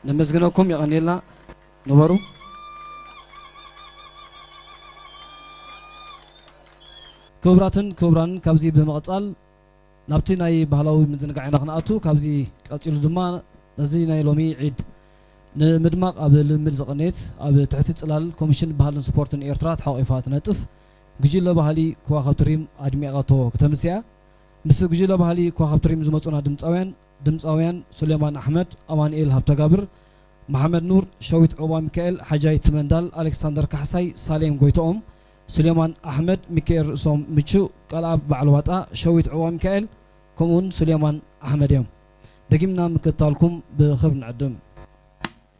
ነመስግነኩም። የቐንየልና። ንበሩ። ክቡራትን ክቡራን፣ ካብዚ ብምቕጻል ናብቲ ናይ ባህላዊ ምዝንጋዕ ኢና ክንኣቱ። ካብዚ ቀጺሉ ድማ ነዚ ናይ ሎሚ ዒድ ንምድማቕ ኣብ ልምምድ ዝቐነየት፣ ኣብ ትሕቲ ጽላል ኮሚሽን ባህልን ስፖርትን ኤርትራ ተሓቒፋ ትነጥፍ ጉጅለ ባህሊ ኮዋኽብቲ ሪም ኣድሚቓቶ ክተምስያ። ምስ ጉጅለ ባህሊ ኮዋኽብቲ ሪም ዝመጹና ድምጻውያን፣ ድምጻውያን ሱሌማን ኣሕመድ፣ ኣማኑኤል ሃብተጋብር፣ መሓመድ ኑር፣ ሸዊት ዑቕባ ሚካኤል፣ ሓጃይ ትመንዳል፣ ኣሌክሳንደር ካሕሳይ፣ ሳሌም ጎይትኦም፣ ሱሌማን ኣሕመድ፣ ሚካኤል ርእሶም፣ ምቹ፣ ቃልኣብ በዓል ዋጣ፣ ሸዊት ዑቕባ ሚካኤል፣ ከምኡውን ሱሌማን ኣሕመድ እዮም። ደጊምና ምክትታልኩም ብኽብሪ ንዕድም።